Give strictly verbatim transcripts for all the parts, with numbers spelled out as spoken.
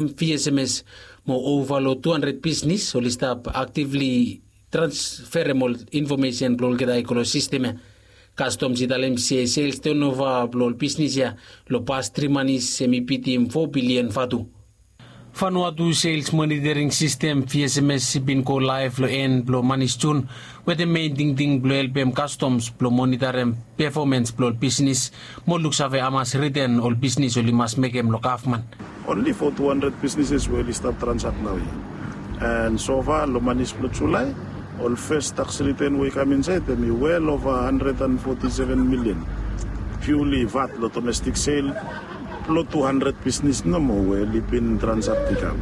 Vsms mo ova long tu handred bisnis oli stap aktivli transferem ol infomesen blong olgeta i go long sistem ya. Kastoms i talem se sels tenova blong ol bisnis ya long pas tri manis em i bitim fo bilian vatu. Vanuatu sels monitering sistem vsms i bin go laev long en blong manis jun, wetem mein tingting blong helpem kastoms blong monitarem pefomens blong ol bisnis mo luksave hamas riten ol bisnis oli mas mekem long gavman. Onli fo tu handred bisnises we oli stap transak nao ya. And sofa long manis blong julai, ol fes taks riten we i kam insaed em i wel ova handred and foti seven milian. Piuli vat long domestik sel blong tu handred bisnis nomo we oli bin transak i kam.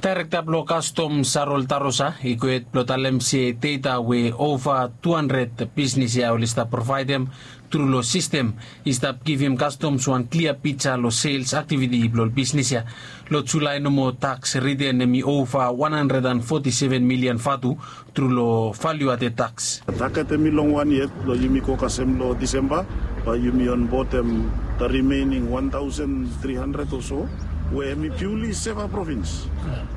Daerekta blong kastom sarol tarosa i gohed blong talem se deta we ova tu handred bisnis ya oli stap provaedem tru long sistem i stap givim kastoms wan klia pija long sels aktiviti blong ol bisnis ya. Long julai nomo taks riten em i ova wan handred and foti seven milian vatu tru long valiu ate taks. Taket em i long wan yet blong yumi go kasem long disemba, bae yumi onbotem da rimening wan taosen tri handred o so we em i piuli seva provins.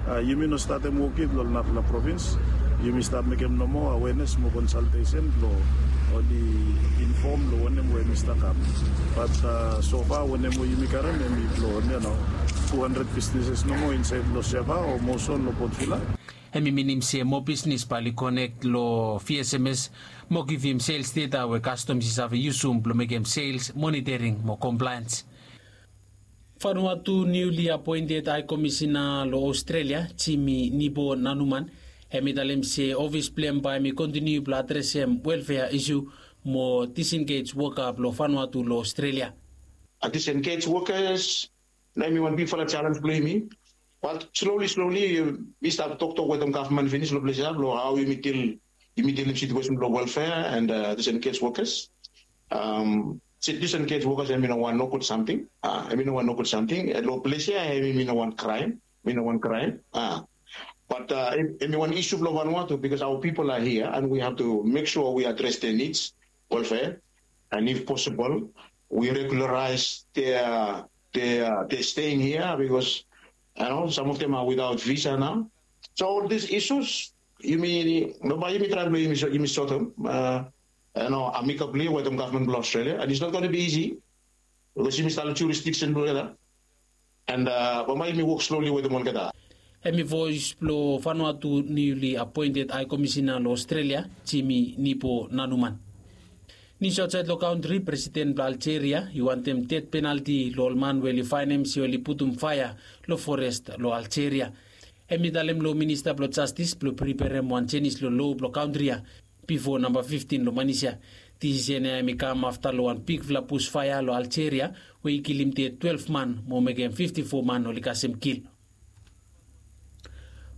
Yumi no statem wok yet long narafala provins. Yumi stap mekem nomo awenes mo konsaltesen blong oli infom long wanem we em i stap kam. Bat sofa wanem we yumi karem em i blong tu handred bisnises nomo insaed long seva o moson long potvila. Em i minim se moa bisnis bae oli konek long vsms mo givim sels deta we kastoms i save yusum blong mekem sels monitering mo komplaens. Vanuatu niuli apoented hae komisina long aostrelia jimi nibo nanuman, em i talem se ofis blong em bae em i kontiniu blong adresem welfea isu mo disengej woka blong vanuatu long aostrelia. Disengej wokas na em i wan bigfala jalens blong yumi. Bat sloli sloli mi stap toktok wetem gavman finis long ples ya blong hao yumi dilim situesen blong welfea and disengej wokas. Disengej wokas em i no wan nogud samting. Em i no wan nogud samting long ples ya. Em i no wan kraem. Mi no wan kraem. Bat em i wan isu blong vanuatu bikos aoa pipol a hia and wi hav tu mek sua wi adres de nids welfea. And if posibol wi regularaes de de staying hia bikos sam of dem a witaot visa nao. So ol dis isus yumi no bae yumi traem blong yumi sotem amikabli wetem gavman blong aostrelia and its not gona bi isi. Bikos yumi stap long jurisdiksen blong olgeta and bambae yumi wok sloli wetem olgeta. Em i voes blong vanuatu niuli apoented hae komisina long aostrelia jimi nibo nanuman. Nius aotsaed long kantri, presiden blong aljeria i wantem ded penalti long ol man we oli faenem se oli putum faea long forest long aljeria. Em i talem long minista blong jastis blong priperem wan jenis long lo blong kantri ya bifo namba fiftin long manis ya. Disisen ya em i kam afta long wan bigfala bus faea long aljeria we i kilim ded twelef man mo mekem fifti fo man oli kasem kil.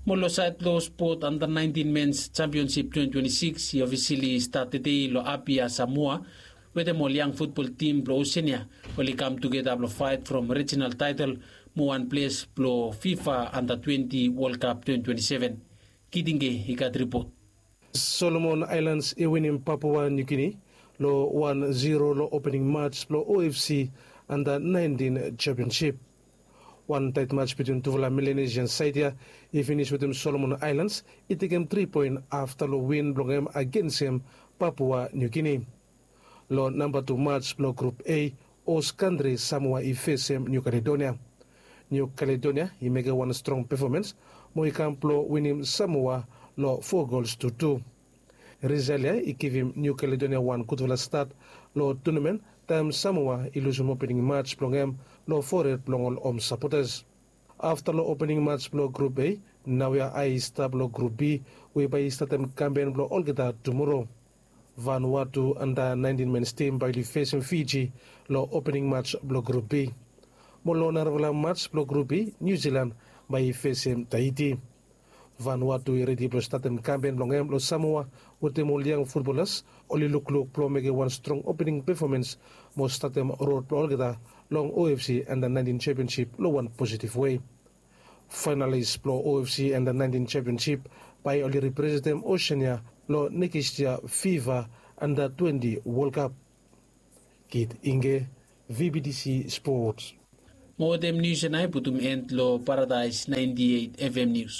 Mo long saed long spot anda naentin mens jampionsip twenti twenti sikis i ofisili stat tedei long apia samoa, wetem ol yang futbol tim blong osen ya oli kam tugeta blong faet from rijinal taetel mo wan ples blong fifa anda twenti wolkap twenti twenti seven. Kitinge i gat ripot. Solomon aelans i winim papua niu gini long wan ziro long opening mats blong ofc anda naentin jampionsip. Wan taet mats bitwin tufala melenesian saed ya i finis wetem solomon aelans i tekem tri poen afta long win blong hem agensem papua niu gini. Long namba tu mats blong grup a, os kantri samoa i fesem niu kaledonia. Niu kaledonia i mekem wan strong pefomens mo i kam blong winim samoa long fo gols tu tu. Rizal ya i givim niu kaledonia wan gudfala stat long tunamen taem samoa i lusum opening mats blong hem long fored blong ol hom sapotas. Afta long opening mats blong grup a, naoia ae i stap long grup b we bae i statem kampen blong olgeta tumoro. Vanuatu anda naentin mens tim bae oli fesem fiji long opening mats blong grup b. Mo long narafala mats blong grup b, niu zilan bae i fesem taiti. Vanuatu i redi blong statem kampen blong hem long samoa wetem ol yang futbolas oli lukluk blong mekem wan strong opening pefomens mo statem rod blong olgeta long ofc anda naentin jampionsip long wan positiv wei. Faenalis blong ofc anda naentin jampionsip bae oli representem osen ya long nekis yia fifa anda twenti wolkap. Kit inge, vbtc spot. Mo wetem nius ya nao i putum en long Paradaes naenti eit F M nius.